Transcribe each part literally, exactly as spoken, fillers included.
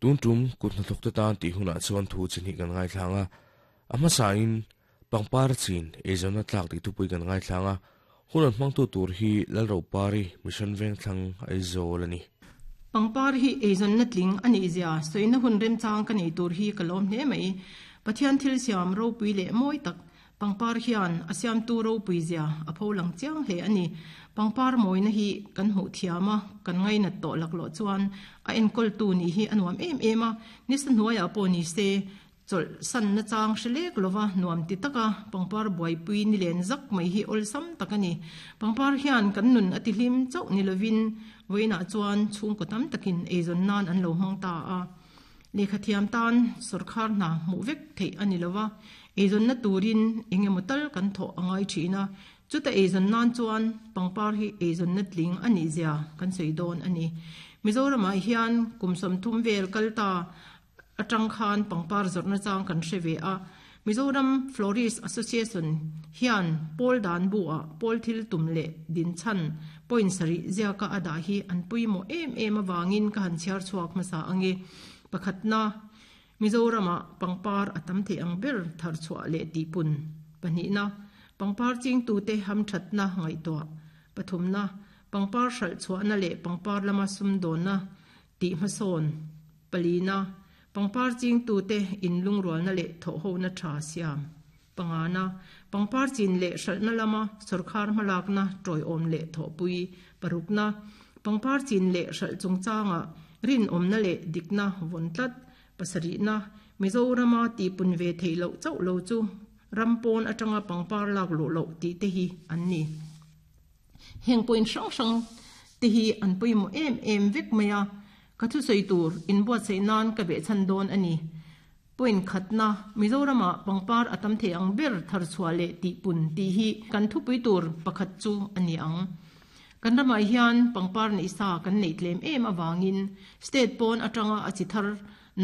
Tun tum kut hnathawk te tan tih hunah chuan thu chi hnih kan ngaithlang a, a hmasain pangpar chin eizawnna tlak tih thupui kan ngaithlang a, hun an hmangtu tur hi Lalropari Mission Vengthlang Aizawl a ni. Pangpar hi eizawnna tling a nih zia sawina hun remchang ka nei tur hi ka lawm hle mai. Pathian thil siam ropui leh mawi tak pangpar hian a siamtu ropui zia a pho lang chiang hle a ni. Pangpar mawina hi kan hmuh thiam a, kan ngainat tawh laklawh chuan a enkawltu nih hi a nuam em em a, nisa hnuaiah pawh ni se chawlh sanna chang hre lek lova nuam ti taka pangpar buaipui ni len zak mai hi awlsam tak a ni. Pangpar hian kan nun a ti hlim chauh ni lovin vawiinah chuan chhungkaw tam takin eizawn nan an lo hmang ta a. Lehkha thiam tan sawrkhar hna hmuh vek theih a ni lova, eizawnna turin eng emaw tal kan thawh a ngai thin a, chuta eizawn nan chuan pangpar hi eizawnna tling a nih zia kan sawi dawn a ni. Mizoramah hian kum sawmthum vel kal ta atang khan pangpar zawrhna chang kan hre ve a. Mizoram Florist Association hian pawl dan bu ah pawl thil tum leh din chhan point sarih ziaka a dah hi an pawimawh em em avangin ka han chhiar chhuak hmasa ange. Pakhatna, Mizoramah pangpar a tam thei ang ber thar chhuah leh tihpun. Pahnihna, pangpar chingtute hamthatna ngaihtuah. Pathumna, pangpar hralh chhuahna leh pangpar lama sumdawnna tih hmasawn. Palina, pangpar chingtute inlungrualna leh thawhhona tha siam. Pangana, pangpar chin leh hralhna lama sawrkhar hmalakna tawiawm leh thawhpui. Parukna, pangpar chin leh hralh chungchanga rinawmna leh dikna vawn tlat. Pasarihna, Mizorama tihpun ve theih loh chauh lo chu rampawn atanga pangpar lak luh loh tih te hi an ni. Heng point hrang hrang te hi an pawimawh em em vek mai a, ka thusawi tur inbuatsaih nan ka behchhan dawn a ni. Point khatna, Mizorama pangpar a tam thei ang ber thar chhuah leh tihpun tih hi kan thupui tur pakhat chu a ni ang. Kan ramah hian pangpar neih sa kan neih tlem em avangin state pawn atanga a chi thar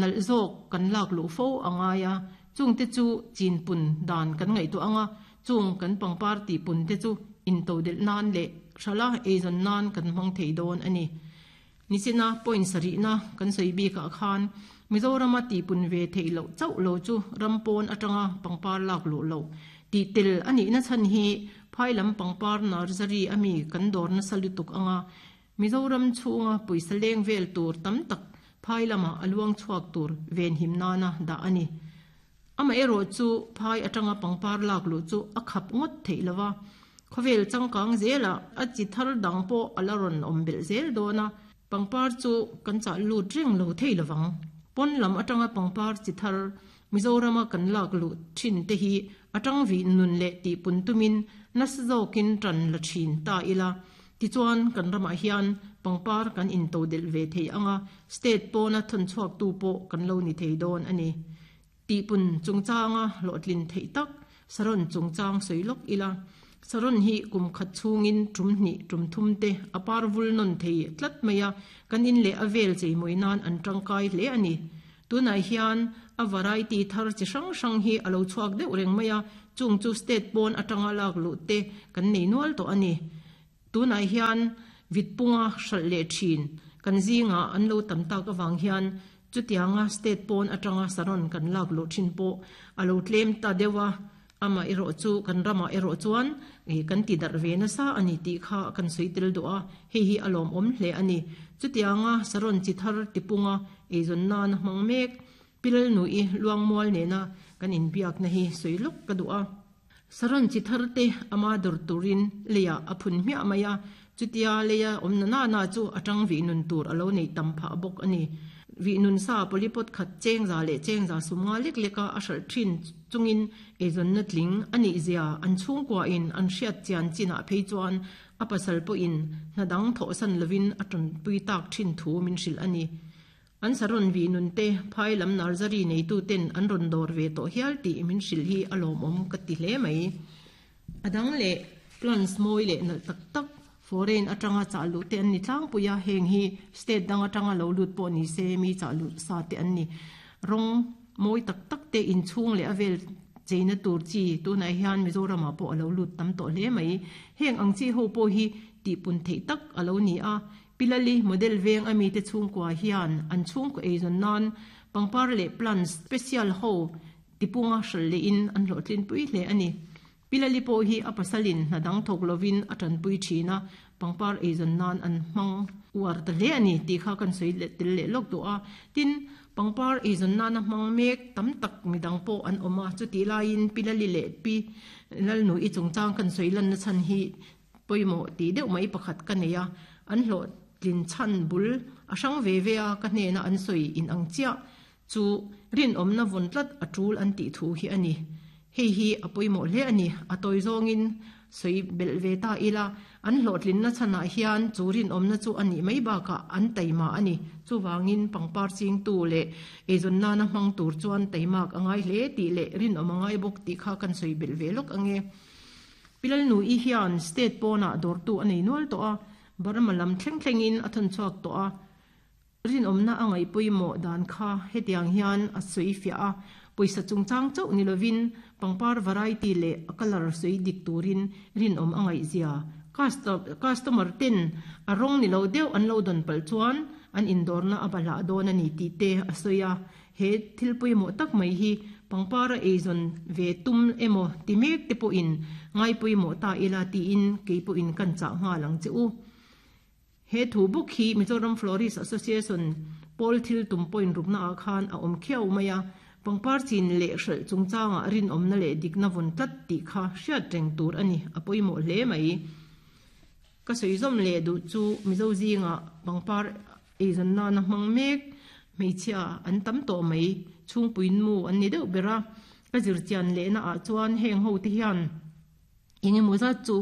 nalh zawk kan lak luh fo a ngai a, chung te chu chinpun dan kan ngaihtuah anga, chung kan pangpar tihpun te chu intodelh nan leh hrala eizawn nan kan hmang thei dawn a ni. Nichina point sarihna kan sawi bikah khan Mizorama tihpun ve theih loh chauh lo chu rampawn atanga pangpar lak luh loh tih tel a nihna chhan hi phailam pangpar nursery ami kan dawr nasa lutuk anga Mizoram chhunga pawisa leng vel tur tam tak phailama a luang chhuak tur venhim nana dah a ni. Ama erawh chu phai atanga pangpar lak luh chu a khap ngawt theih lova, khawvel changkang zela a chi thar dang pawh a la rawn awm belh zel dawn a, pangpar chu kan chah lut reng lo thei lovang. Pawn lam atanga pangpar chi thar Mizorama kan lak luh thin te hi atang vih nun leh tihpun tumin nasa zawkin tan la thin ta ila. Tichuan kan ramah hian pangpar kan intodelh ve thei anga, state pawna thawn chhuak tu pawh kan lo ni thei dawn a ni. Tihpun chungchanga hlawhtlin theih tak saron chungchang sawi lawk ila. Saron hi kum khat chhungin tum hnih tum thum te a par vul nawn thei tlat mai a, kan in leh a vel cheimawi nan an tangkai hle a ni. Tunah hian a variety thar chi hrang hrang hi a lo chhuak deuh reng mai a, chung chu state pawn atanga lak luh te kan nei nual tawh a ni. Tunah hian vitpunga hralh leh thin kan zinga an lo tam tak awang hian chutianga state pawn atanga saron kan lak luh thin pawh a lo tlem ta deuh a, ama erawh chu kan ramah erawh chuan kan ti darh ve nasa a ni tih kha kan sawi tel duh a, hei hi a lawm awm hle a ni. Chutianga saron chi thar tipunga eizawn nan hmang mek pilal nui luangmual nena kan inbiakna hi sawi lawk ka duh a. Saron chi thar te ama dawr turin leia a phun hmiah mai a, chutia leia awmna na na chu atang vih nun tur a lo nei tam phah bawk a ni. Vih nun sa polypot khat chengza leh chengza sumnga lek leka a hralh thin chungin eizawnna tling a nih zia an chhungkua in an hriat chian chinah phei chuan a pasal pawhin hnadang thawhsan lovin a tanpui tak thin thu min hrilh a ni. An saron vih nun te phailam nursery neitu ten an rawn dawr ve tawh hial tih min hrilh hi a lawmawm ka ti hle mai. Adang leh plants mawi leh nalh tak tak foreign atanga chah luh te an ni tlangpui a, heng hi state dang atanga lo lut pawh ni se mi chah luh sa te an ni. Rawng mawi tak tak te inchhung leh a vel cheina tur chi tunah hian Mizorama pawh a lo lut tam tawh hle mai. Heng ang chi ho pawh hi tihpun theih tak a lo ni a, Pilali model veng ami te chhungkua hian an chhungkaw eizawn nan pangpar leh plants special ho tipunga hral leh in an hlawhtlin pui hle ani. Pilali pawh hi a pasalin hna dang thawk lovin a tanpui thin a, pangpar eizawn nan an hmang uar ta hle ani tih kha kan sawi leh tel leh lawk duh a. Tin, pangpar eizawn nana hmang mek tam tak midang pawh an awm a, chutih laiin Pilali leh Pi Lalnu i chungchang kan sawi lanna chhan hi pawimawh tih deuh mai pakhat ka nei a, an hlawhtlin chhan bul a hrang ve ve a, ka hnena an sawi in ang chiah chu rinawmna vawn tlat a tul an tih thu hi ani. Hei hi a pawimawh hle ani, a tawi zawngin sawi belh ve ta ila, an hlawhtlinna chhanah hian chu rinawmna chu ani mai bakah an taima ani. Chuwangin pangpar chingtu leh eizawn nana hmang tur chuan taimak angai hle tih leh rinawm angai bawk tih kha kan sawi belh ve lawk ange. Pilalnu i hian state pawnah dawrtu a nei nual tawh a, Burma lam thleng thlengin a thawn chhuak tawh a, rinawmna angai pawimawh dan kha hetiang hian a sawi fiah a, pawisa chungchang chauh ni lovin pangpar variety leh a colour sawi dik turin rinawm angai zia. Customer ten a rawng ni lo deuh an lo dawn palh chuan an indawrna a bahlah dawn ani tih te a sawi a. He thil pawimawh tak mai hi pangpara eizawn ve tum emaw ti mek te pawhin ngai pawimawh ta ila tiin kei pawhin kan chah nghal ang che u. He thu bawk hi Mizoram Florist Association pawl thil tum point rukna ah khan a awm khiau mai a, pangpar chin leh hralh chungchangah rinawmna leh dikna vawn tlat tih kha hriat reng tur ani, a pawimawh hle mai. Ka sawi zawm leh duh chu Mizo zinga pangpar eizawn nana hmang mek hmeichhia an tam tawh mai, chhungpuin mu an ni deuh ber a, ka zirchian lehna ah chuan heng ho te hian engemaw zat chu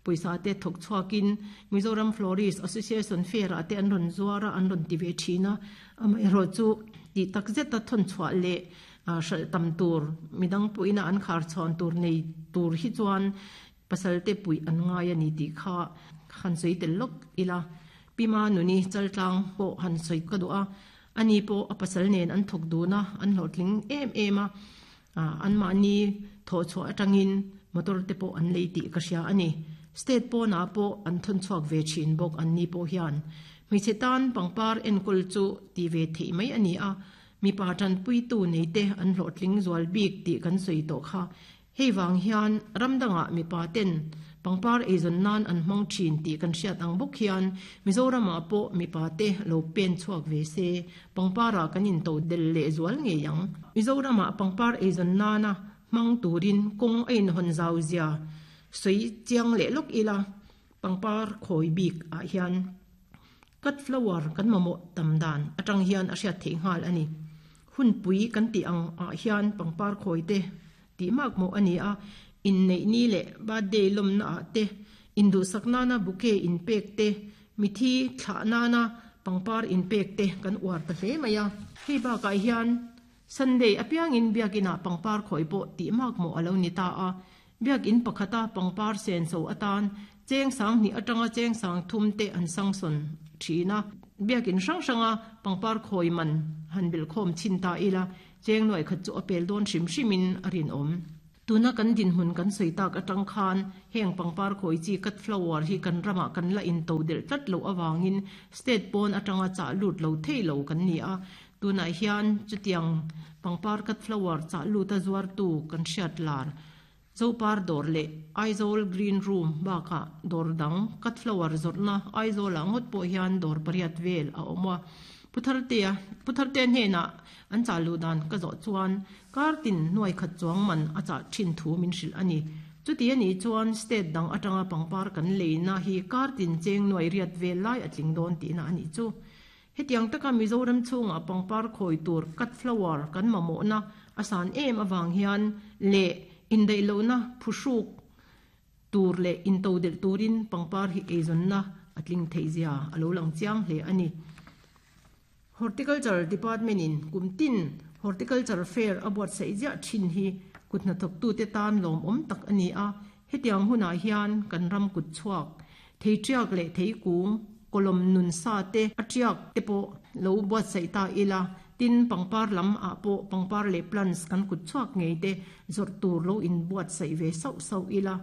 pawisa te thawk chhuakin Mizoram Florist Association fair ah te an rawn zuar a, an rawn ti ve thin a, amaherawh chu tih tak zeta thawn chhuah leh hralh tam tur midang pawhina an khar chhawn tur nei tur hi chuan pasal te pui an ngai ani tih kha han sawi tel lawk ila. Pima nuni chaltlang pawh han sawi ka duh a, ani pawh a pasal nen an thawk dun a, an hlawhtling em em a, an mahni thawh chhuah atangin motor te pawh an lei tih ka hria ani. State pawnah pawh an thawn chhuak ve thin bawk an ni pawh hian. Hmeichhe tan pangpar enkawl chu ti ve theih mai ani a, mipa tanpui tu nei te an hlawhtling zual bik tih kan sawi tawh kha. Hei wang hian ramdangah mipa ten pangpar eizawn nan an hmang thin tih kan hriat ang bawk hian Mizoramah pawh mipa te lo pen chhuak ve se, pangpara kan in to del leh zual ngei ang. Mizoramah pangpar eizawn nana hmang turin kawng a inhawn zau zia sawi chiang leh lawk ila, pangpar khawi bik ah hian cut flower kan mamawh tam dan atang hian a hriat theih nghal ani. Hun pui kan ti ang ah hian pangpar khawi te tih mak mawh ani a, in nei ni leh birthday lawmna ah te, in duhsak nana bouquet in pek te, mithi thlah nana pangpar in pek te kan uar ta hle mai a. Hei bakah hian Sunday apiangin biakinah pangpar khawi pawh tih mak mawh alo ni ta a, biakin pakhata pangpar sen so atan cheng sang hnih atanga cheng sang thum te an sangsawn thin a, biakin hrang hranga pangpar khawi man han bel khawm chin ta ila, cheng nuai khat chu a pel dawn hrim hrimin a rinawm. Tuna kan din hmun kan sawi tak atang khan heng pangpar khawi chi cut flower hi kan ramah kan la in to del tlat lo awangin state pawn atanga chah lut lo thei lo kan ni a. Tunah hian chutiang pangpar cut flower chah lut a zuar tu kan hriat lar Zopar dawr leh Aizawl Green Room bakah dawr dang cut flower zawrhna Aizawl ah ngawt pawh hian dawr pariat vel a awm a. Puthartea Puthartea hnenah an chah luh dan ka zawh chuan kartin nuai khat chuang man a chah thin thu min hrilh ani. Chuti ani chuan state dang atanga pangpar kan leina hi kartin cheng nuai riat vel lai a tling dawn tihna ani chu. Hetiang taka Mizoram chhungah pangpar khawi tur cut flower kan mamawhna a san em awang hian leh indaih lohna phuhruk tur leh into del turin pangpar hi eizawnna a tling theih zia a lo lang chiang hle ani. Horticulture Department in kumtin Horticulture Fair a buatsaih ziah thin hi kut hnathawk tu te tan lawm awm tak ani a. Hetiang hunah hian kan ram kut chhuak thei tiak leh thei kung kolom nun sa te a tiak te pawh lo buatsaih ta ila, tin pangpar lam ah pawh pangpar leh plants kan kut chhuak ngei te zawrh tur lo in buatsaih ve sauh sauh ila,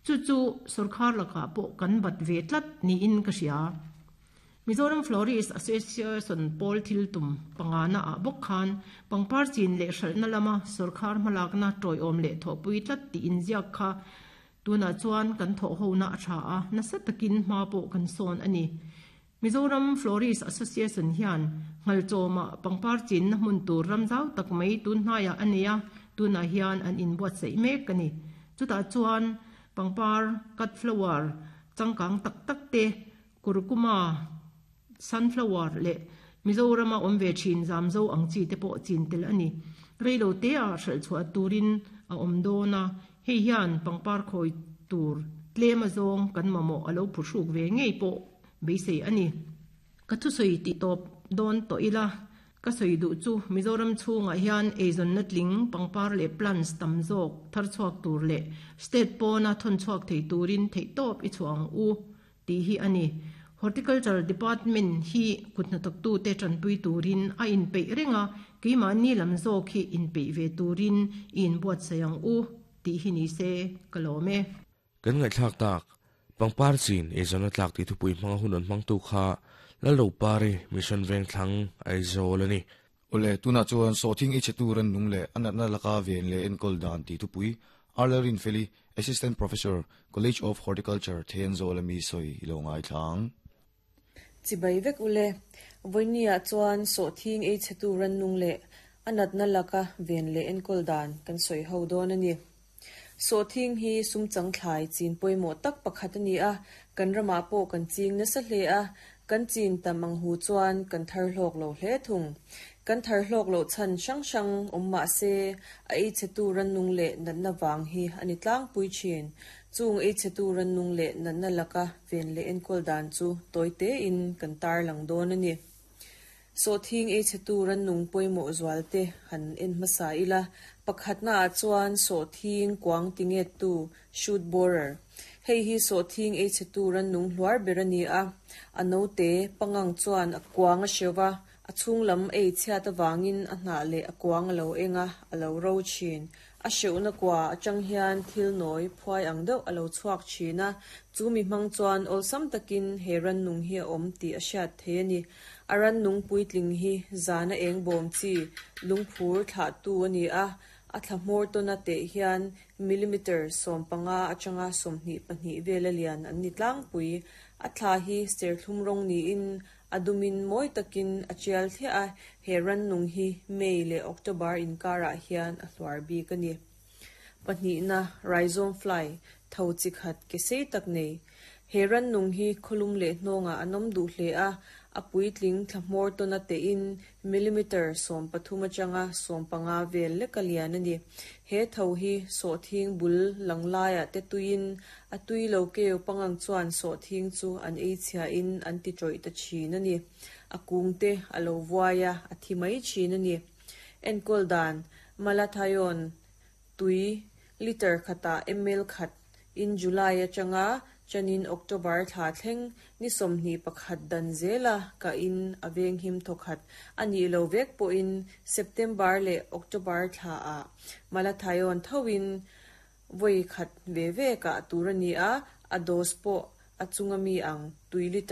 chu chu sorkar lakah pawh kan bat ve tlat niin ka hria. Mizoram Florist Association pawl thil tum pangana a bawk khan pangpar chin leh hralhna lama sawrkar hmalakna tawiawm leh thawhpui tlat tih inziak kha tuna chuan kan thawh hona a tha a nasa takin hma pawh kan sawn ani. Mizoram Florist Association hian ngalchawma pangpar chin na hmun tur ramzau tak mai tun hnaiah ania tuna hian an inbuat sei mek ani. Chutah chuan pangpar cut flower changkang tak tak te kurkuma sunflower le Mizorama awm ve thin zamzo ang chi te pawh chin tel ani. Reilo te a hral chhuah turin a awm dawn a hei hian pangpar khawi tur tlem a zawng kan mamawh alo phuhruk ve ngei pawh beisei ani. Ka thusoi ti tawp dawn tawh ila ka sawi duh chu Mizoram chhungah hian eizawn na tling pangpar leh plants tam zawk thar chhuak tur leh state pawna thawn chhuak thei turin theih tawp i chhuang u tih hi ani. Horticulture Department hi kutna tak tu te tanpui turin a inpeih renga keimahni lam zawk hi inpeih ve turin i inbuat sayang u tih hi ni se ka lawm e. Kan ngaihthlak tak pangpar chin eizawn na tlak tih thupui hmanga hun an hmang tu kha Lalro Pari Mission Veng Thlang Aizawl ani. Ole tuna chuan sawhthing ei che tur an nung leh anatna laka ven leh enkawl dan tih thupui Arlerin Feli Assistant Professor College of Horticulture Thenzawl ami sawi ilo ngai thlang. Chibai vek ule voinia chuan sawhthing ei che tur an nung leh anatna laka ven leh enkawl dan kan sawi ho dawn ani. Sawhthing hi sum chang thlai chin pawimawh tak pakhat ani a kan rama pawh kan ching nasa hle a kan chin tam ang hu chuan kan thar hlawk lo hle thung. Kan thar hlawk lo chan hrang hrang awm mah se a ei che tur an nung leh natna wang hi ani tlang pui thin. Chung ei che tur an nung leh natna laka ven leh enkawl dan chu toite in kan tar lang dawn ani. Sawhthing ei che tur an nung pawimawh zual te han en hmasa ila pakhatna ah chuan sawhthing kuang tinge tu shoot borer. Hei hi sawhthing ei che tur an nung hluar ber ani a a no te pangang chuan a kuang a hrewa a chhung lam ei chhiat awangin a hnah leh a kuang alo enga alo ro thin. A hreuhna kwa atang hian thil nawi phuai ang deuh alo chhuak thin a chu mi hmang chuan awlsam takin he ran nung hi a awm tih a hriat thei ani. A ran nung puitling hi zana eng bawm chi lungphur thlah tu ani a a thla hmawr tawna te hian millimeter sawm panga atanga sawmhnih pahnih vel a lian an ni tlangpui. A thla hi serthlum rawng niin a dumin mawi takin a tial thliah a he ran nung hi May leh October inkarah hian a hluar bik ani. Pahnihna rhizome fly tho chi khat ke sei tak nei. He ran nung hi khawlum leh hnawngah an awm duh hle a a puitling thla hmawr tawna te in millimeter sawm pathum atanga sawm panga vel lek a lian ani. He tho hi sawhthing bul lang laiah te tuiin a tui lo keu pangang chuan sawhthing chu an ei chhia in an ti tawih ta thin ani. A kung te alo vuai a a thi mai thin ani. Enkawl dan malathion tui liter khata ml khat in July atanga chanin October thla thleng ni sawmhnih pakhat dan zela ka in aveng him thawkhat ani lo vek pawhin September leh October thla a malathion thoin voi khat ve ve ka tur ani a a dose pawh a chunga mi ang tui liter